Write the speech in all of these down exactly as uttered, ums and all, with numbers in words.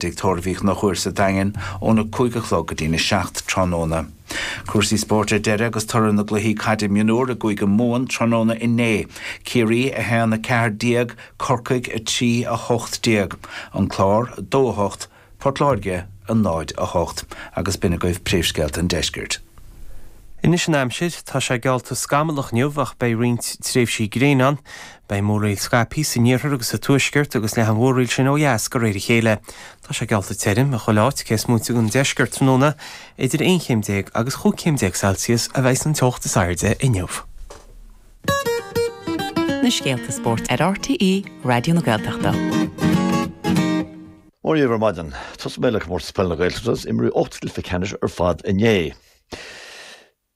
Tigh Tórraimh Uí Chonchúir sa Daingean óna cúig a chlog go dtína seacht tráthnóna. Cúrsaí spóirt ar deireadh agus toradh na gcluichí caide mionúr i gCúige Mumhan tráthnóna inné. Ciarraí a haon a ceathair déag, Corcaigh a trí a hocht déag. An Clár dó a hocht, Port Láirge a náid a hocht agus b'in agaibh príomhscéalta an deiscirt. Anois an aimsir tá sé geallta scamallach inniu ach beidh roinnt tréimhsí gréine ann, beidh múraíl scaipthe san iarthar agus sa tuaisceart agus leathfaidh an mhúraíl sin ó dheas de réir a chéile. Tá sé geallta tirim i chuile áit cé is móite den deisceart tráthnóna idir aon chéim déag agus chúig chéim déag Celsius a bheidh an teocht is airde inniu. Na scéalta spóirt ar RTÉ Raidió na Gaeltachta. Mór ar maidin, Tosóidh mé le comórtas peile na Gaeltachta imríodh ocht gcluiche ceannais ar fad inné.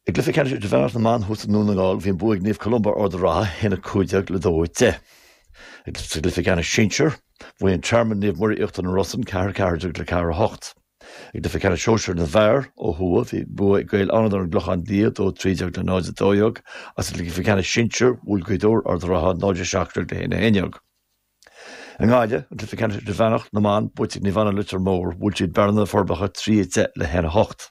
I gcluiche ceannais idirmheánach na mban thuas i nDún na nGall bhí an bua ag Naomh Columba Ard an Rátha a haon a cúig déag le dó a deich. Sa gcluiche ceannais sinsir, bhuaigh an Tearmann Naomh Muire Íochtar na Rosann ceathair ceathair déag le ceathair a hocht. I gcluiche ceannais sóisir na bhfear ó thuaidh bhí bua ag Gaeil Fhánada ar an gClochán Liath dó trí déag le náid a dó dhéag agus sa gcluiche ceannais sinsir bhuail Gaoth Dobhair Ard an Rátha náid a seacht déag le haon a haon déag. I nGaillimh, an cluiche ceannais idirmheánach na mban buaite ag Naomh Anna Leitir Móir, bhuail siad Bearna na Forbacha trí a deich le haon a hocht.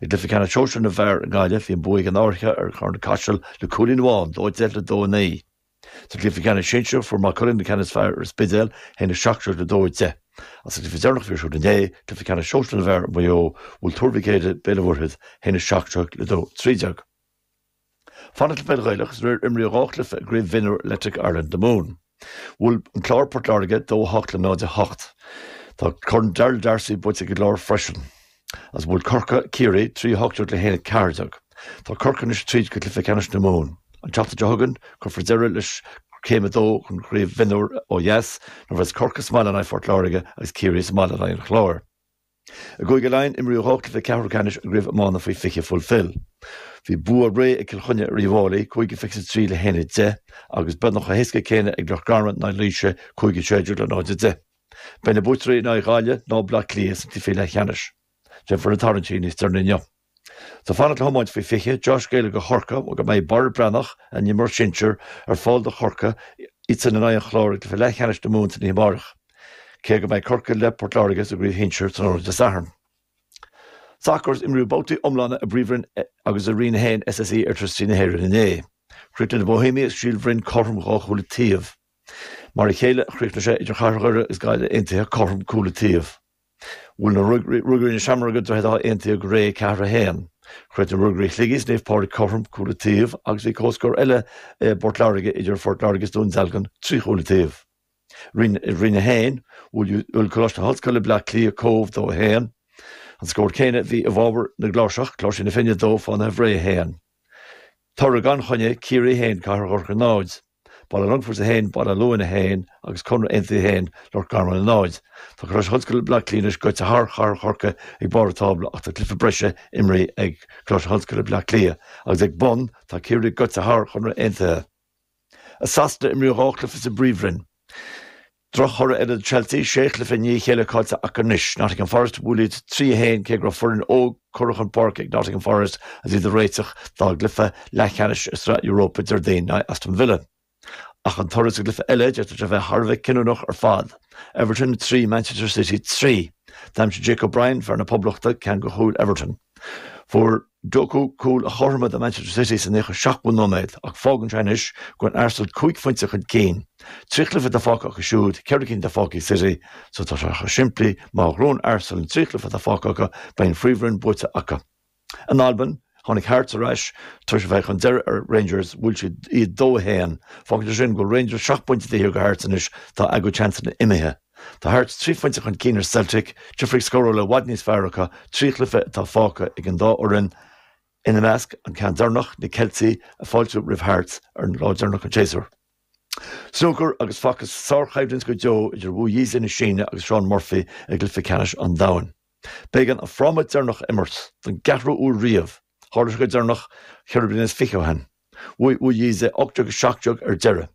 I gcluiche ceannais sóisir na bhfear i nGaillimh bhí an bua ag an Fhairche ar Charn Caiseal le cúilín amháin dó deich le dó a naoi. Sa gcluiche ceannais sinsir fuair Maigh Cuilinn an ceann is fearr ar an Spidéal a haon a seacht déag le dó a deich. Agus sa gcluiche deireanach a bhí ar siúl inné, cluiche ceannais sóisir na bhfear i Maigh Eo, bhuail Tuar Mhic Éadaigh Béal an Mhuirthead a haon a seacht déag le dó trí déag. Fanacht le peil Ghaelach is aréir imríodh dhá chluiche i gCraobh Mhionúr Electric Ireland na Mumhan. Bhuail an Clár Port Láirge dó a hocht le náid a hocht. Tá Corn Darrell D'Arcy buaite ag an gClár freisin. Agus bhuail Corcaigh Ciarraí trí hocht déag le haon a ceathair déag. Tá Corcaigh anois tríd go cluiche ceannais na Mumhan. An tseachtain seo chugainn cuirfear deireadh leis céim a dó den chraobh mhionúr ó dheas nuair a bheas Corcaigh sa mbaile in aghaidh Phort Láirge agus Ciarraí sa mbaile in aghaidh an Chláir. I gCúige Laighean imríodh dhá chluiche ceathrú ceannais i gcraobh iomána faoi fiche Fulfil. Bhí bua réidh ag Cill Chainnigh ar Uíbh Fhailí, cúig a fiche a trí le haon a deich, agus beagnach chomh héasca céanna ag Loch Garman in aghaidh Laoise, cúig a sé déag le náid a deich. Beidh na buaiteoirí in aghaidh Ghaillimh nó Bleá Cliath sna cluichí leathcheannais. Déanfar na tarraingtí níos deireanaí inniu. Tá fanacht le hiomáint faoi fiche, dea-scéala do Chorcaigh go mbeidh Barra Breathnach, a d'imir sinsir, ar fáil do Chorcaigh, iadsan in aghaidh an Chláir i gcluiche leathcheannais na Mumhan san oíche amárach. Cé go mbeidh Corcaigh le Port Láirge sa gcraobh shinsir tráthnóna Dé Sathairn. Sacar imríodh babhtaí iomlána i bPríomhroinn agus i Roinn a haon SSE Airtricity na hÉireann inné. Chríochnaigh na Bohemians agus Síol Bhroin cothrom dhá chúl an taobh. Mar a chéile a chríochnaigh sé idir Chathair Dhoire agus Gaillimh Aontaithe cothrom cúl an taobh. Bhuail na Ruagairí na Seamróige Droichead Átha Aontaithe go réidh ceathair a haon. Chríochnaigh Ruagairí Shligigh is Naomh Pádraig cothrom cúl an taobh agus bhí comhscór eile i bPort Láirge idir Phort Láirge is Dún Dealgan trí chúl an taobh. Roinn Roinn a haon, bhuail Coláiste na hOllscoile Bleá Cliath Cóbh dó a haon. An scór céanna a bhí i bhfabhar na gCláirseach, Cláirsigh na Finne dó, Fánaithe Bhré a haon. Toradh gan choinne, Ciarraí a haon, Cathair Dhorcha náid. Baile Longfoirt a haon, Baile Luain a haon agus Conradh Aontaithe a haon, Loch Garman a náid. Tá Coláiste na hOllscoile Bleá Cliath anois gaibhte thar Chathair Chorcaí ag barr an tábla ach tá cluiche breise imrithe ag Coláiste na hOllscoile Bleá Cliath agus ag bun tá Ciarraí gaibhte thar Chonradh Aontaithe. I Sasana imríodh dhá chluiche sa bPríomhroinn. Drochthoradh eile do Chelsea, sé chluiche i ndiaidh a chéile caillte acu anois. Nottingham Forest bhuail iad trí a haon cé go raibh foireann óg curtha chun páirce ag Nottingham Forest agus iad ag réiteach dá gcluiche leathcheannais i Sraith Europa Déardaoin in aghaidh Aston Villa. Ach an toradh sa gcluiche eile, d'fhéadfadh sé a bheith thar a bheith cinniúnach ar fad. Everton trí, Manchester City trí. D'aimsigh Jake O'Brien, fear na Poblachta, ceann de chúil Everton. Fuair Doku cúl a chothromaigh do Manchester City sa naocha seachtú nóiméad ach fágann sé anois go bhfuil Arsenal cúig phointe chun cinn. Trí chluiche atá fágtha acu siúd, ceithre cinn atá fágtha ag City, so tá sé chomh simplí, má ghnóthaíonn Arsenal an trí chluiche atá fágtha acu, beidh an Phríomhroinn buaite acu. In Albain, tháinig Hearts ar ais tar éis a bheith chun deiridh ar Rangers, bhuail siad iad dó a haon. Fágann sé sin go bhfuil Rangers seacht bpointe taobh thiar de Hearts anois, tá a gcuid seansanna imithe. Tá Hearts trí phointe chun cinn ar Celtic, difríocht scórála i bhfad níos fearr acu, trí chluiche atá fágtha ag an dá fhoireann, ina measc an ceann deireanach, na Ceiltigh ag fáiltiú roimh Hearts ar an lá deireanach den tséasúr. Snúcar agus facthas sárchoimhlint go deo idir Wu Yize na Síne agus Shaun Murphy i gcluiche ceannais an domhain. B'éigean an fráma deireanach a imirt don gceathrú huair riamh, tharla sé go deireanach ceithre bliana is fiche ó shin. Bhuaigh Wu Yize ocht déag a seacht déag ar deireadh.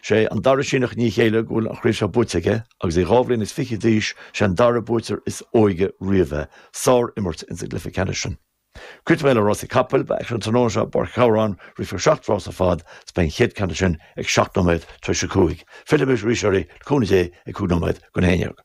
Sé an dara Síneach i ndiaidh a chéile go bhfuil an chraobh seo buaite aige agus é dhá bhliain is fiche d'aois, sé an dara buaiteoir is óige riamh é. Sár-imirt ins an gcluiche ceannais sin. Críochnóidh mé le rásaí capaill, beidh aicsean an tráthnóna seo i bPáirc an Chabhráin, rithfear seacht rás ar fad is beidh an chéad ceann de sin ag seacht nóiméad tar éis a cúig. Fillfidh mé arís oraibh le cúnamh Dé ag cúig nóiméad go haon déag.